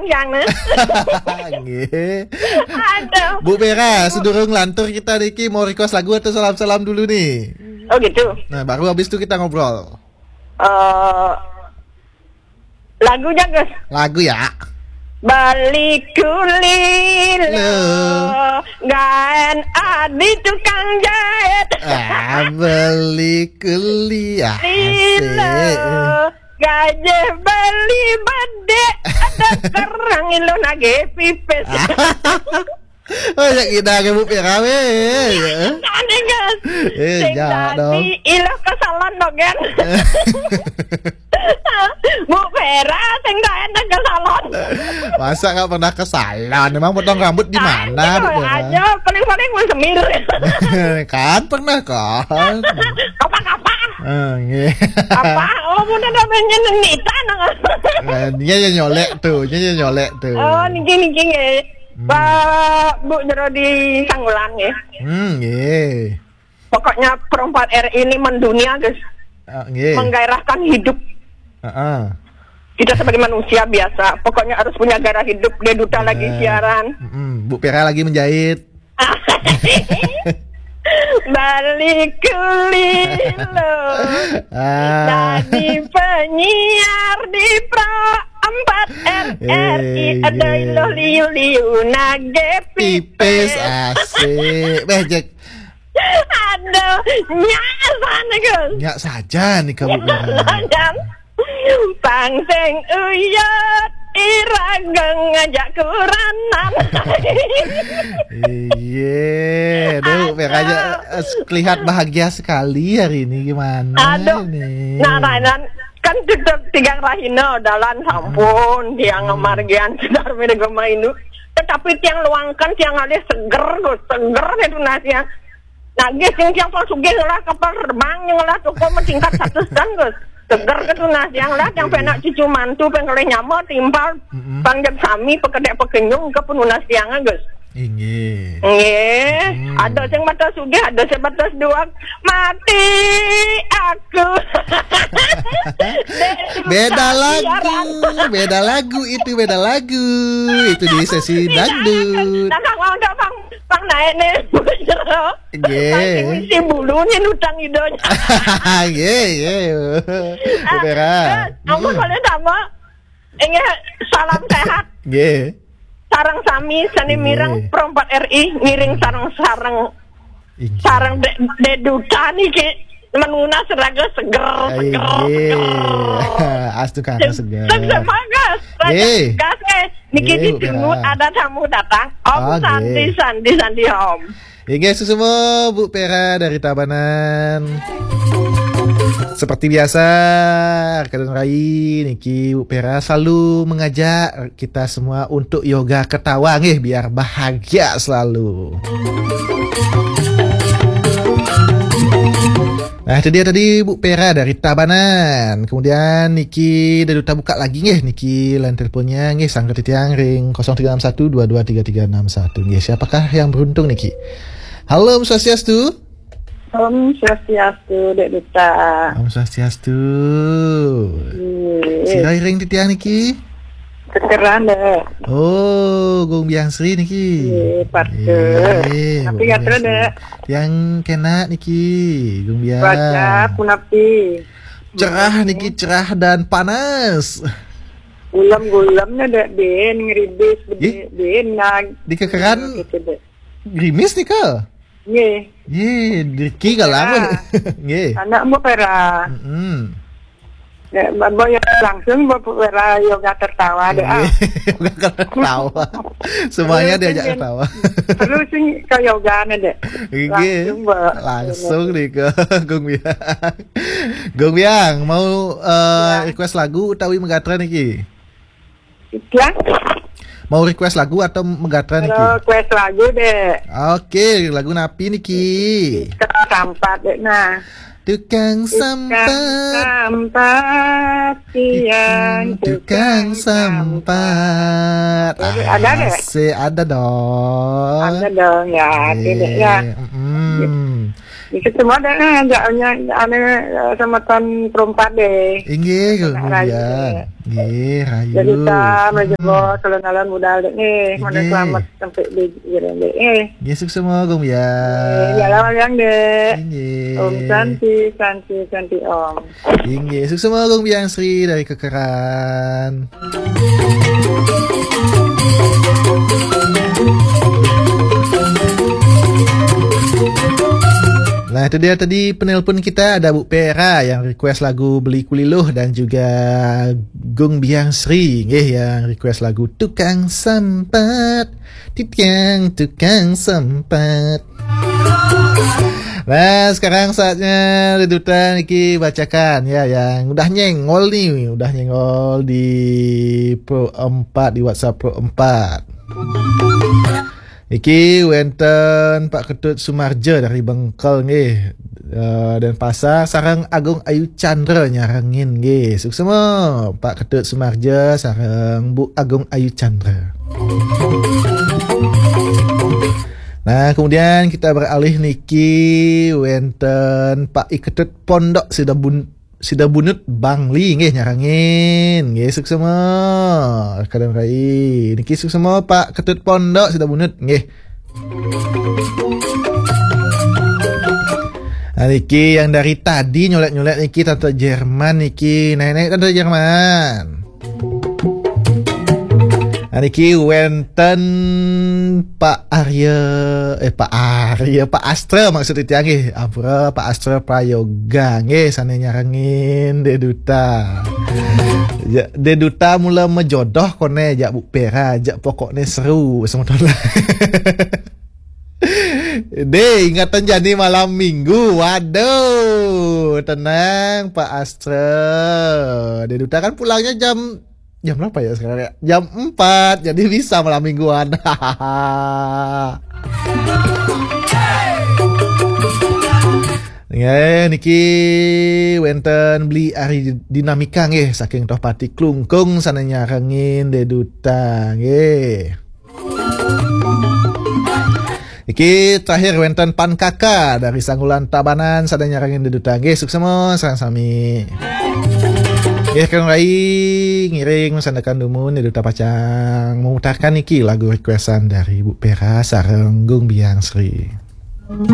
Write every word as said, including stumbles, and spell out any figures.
Yang ni. Nggih. Aduh. Bu Vera, sedurung lantur kita niki mau request lagu atau salam-salam dulu nih? Oh gitu. Nah, baru habis tu kita ngobrol. Eh, lagunya, Gus. Lagu ya. Beli kuli lo, gaen adi tukang jahit. Ah, beli kuli ya. Lilo, asik. Gajah beli bedek, ada kerang ilo nage pipis. Oh, ya kita ke Bu Vera weh. Tadi, Gus. Eh, sing ya, tadi dong. Ilo ke salon dong, kan? Bu Vera, sing tak enak ke salon. Masa nggak pernah ke salon? Emang potong rambut di mana, Bu Vera? Aja, paling-paling mau semir. Kan pernah kan? Apa-apa? Eh, nggih. Apa? Oh, mun ada pengen nita nang. Eh, dia yang nyolek tuh, dia yang nyolek tuh. Oh, niki, niki, nggih. Hmm. Pak, Bu, jero di Sangulang, nggih. Hmm, nggih. Pokoknya Pro empat R I ini mendunia, Gus. Ah, nggih. Menggairahkan hidup. Heeh. Kita sebagai manusia biasa, pokoknya harus punya gairah hidup. Dia duta lagi siaran. Mm-mm. Bu Vera lagi menjahit. Balik ke Lilo. Ah. Jadi penyiar di Pro empat R I. Eh, ada iya. Ilo liu-liu nage pipis. Pipis, asik. Beh, Jack. Aduh, nyak sana, Gus. Nyak saja nih kamu. Nyak saja. Pang sing uyut, irageng ngajak kuranan. Iya, aduh, aduh. Makanya, eh, kelihatan bahagia sekali hari ini. Gimana nih? Aduh, nah, Rainan, kan tetep tigang rahina, dalan sampun, tiang margian, sedar mirip gema indu. Tetapi tiang luangkan, tiang alih seger, Gus, seger itu nasi yang Nah, nggih, sing tiang pun sugih ngelah kapal terbang, ngelah toko meningkat satu setengah, Gus. Seger ke tunas tiang lah, tiang penak cucu mantu, pengelih nyama, timpal, mm-mm, pangjak sami, pekedek pekenyung, ke penunas tiang, Gus. Inggih. Nggih. Hmm. Ada sing mata sugih, ada sing mata dua. Mati aku. Dek, beda susah lagu, siaran. Beda lagu itu, beda lagu. Itu di sesi dangdut. Nah, nah, mau dong, Bang, Bang naik nih. Nggih. Saking misi bulu nih nutang idonya. Nggih, nggih. Bu Vera. Ah, terus, ampun, hmm, boleh tak, Mbak? Inggih, salam sehat. Nggih. Sareng sami, sani, nggih, mireng Pro empat R I, ngiring sareng-sareng. Inggih. Sareng de-, dedutan iki menunas raga seger, seger, inggih, seger. Astu kata seger. Seger banget. Raga, nggih, gas, nggih. Niki, nggih, Bu Vera, ditunggu ada tamu datang. Om, oh, Santi, nggih, Santi, Santi, Om. Inggih, susumo Bu Vera dari Tabanan. Seperti biasa, Kak Rai, niki Bu Vera selalu mengajak kita semua untuk yoga ketawa, nggih, biar bahagia selalu. Nah, itu dia tadi Bu Vera dari Tabanan. Kemudian niki dah duta buka lagi, nggih, niki line teleponnya, nggih, sangka titiang ring kosong tiga enam satu dua dua tiga tiga enam satu. Nggih, siapakah yang beruntung niki? Halo, Om Swastiastu. Om Swastiastu, Dek Duta. Om Swastiastu. Iya. Sira ring titiang niki? Kekeran, Dek. Oh, Gung Biang Sri niki. Iya, patut. Iya, tapi Gung Biang Sri, Dek. Yang kena niki, Gung Biang. Cuaca punapi? Cerah niki, cerah dan panas. Gulem-gulem nih, Dek, bin, ngeribis, di, bin, nag-, di kekeran gitu, Dek. Gerimis nih, Kak? Nggih. Nggih, Riki kalah. Nggih. Anak Mbok Vera. Mm-mm. Ya, Mbok ya langsung Mbok Vera yoga tertawa deh, ah. Nggih, yoga tertawa. Semuanya diajak tertawa. Terus sing ke yoga nih, Dek. Nggih. Langsung, Mbok. Langsung nih ke Gung Biang. Gung Biang, mau, eh, ya, request lagu utawi megatra niki? Iklan? Mau request lagu atau megatra niki? Request lagu, Dek. Oke, lagu napi niki? Tukang sampah, Dek, nah. Tukang sampah. Tukang sampah, tiang tukang sampah. Ada, Dek? Masih ada dong. Ada dong, ya, oke, Dek, ya. Iya, mm-mm. Iki semua dah, eh, jak nya, anu, eh, sama tan perempat deh. Inggih, Kak Gung Biang. Nggih, rahayu. Jadi, ta, meja bos, alon-alon budal dek nih. Mana selamat sampai di Jerende, eh. Nggih, suksma, Gung Biang. Eh, ya, lawan yang dek. Inggih. Om Santi, Santi, Santi, Om. Inggih, suksma, Gung Biang Sri dari Kekeran. Nah, itu dia tadi penelpon kita, ada Bu Pera yang request lagu Beli Kuliluh dan juga Gung Biang Sri, nggih, yang request lagu Tukang Sempat. Titiang Tukang Sempat. Nah, sekarang saatnya Deduta niki bacakan ya yang udah nyengol nih, udah nyengol di Pro empat, di WhatsApp Pro empat. Niki wenten Pak Ketut Sumarja dari Bengkel nggih. Eh, Denpasar sareng Agung Ayu Chandra nyarengin nggih. Suksma Pak Ketut Sumarja sareng Bu Agung Ayu Chandra. Nah, kemudian kita beralih niki wenten Pak Iketut Pondok Sidabun Sidabunut Bangli nggih nyarengin. Nggih, suksma. Kadang kai. Niki suksma Pak Ketut Pondok Sidabunut nggih. Nah, niki yang dari tadi nyolek-nyolek niki Tante Jerman niki. Naik-naik Tante Jerman. Nah, niki wenten Pak Arya, eh, Pak Arya, Pak Astra maksud itu nggih. Ampura, Pak Astra Prayoga nggih, sane nyarengin Dek Duta. Ya, Dek Duta mula mejodoh kone jak Bu Pera, jak pokokne seru semeton. Deh, ingatan jani malam minggu. Waduh, tenang Pak Astra. Dek Duta kan pulangnya jam jam berapa ya sekarang ya? Jam empat, jadi bisa malam mingguan. Nggih, niki wenten Beli Ari Dinamika nggih saking Tohpati Klungkung sane nyarengin Dek Duta nggih. Iki terakhir wenten Pan Kaka dari Sanggulan Tabanan sane nyarengin Dek Duta nggih, suksma sareng sami. Nggih, kang rai ngiring sandekan dumun Dek Duta pacang memutarkan iki lagu requestan dari Bu Pera sareng Gung Biang Sri.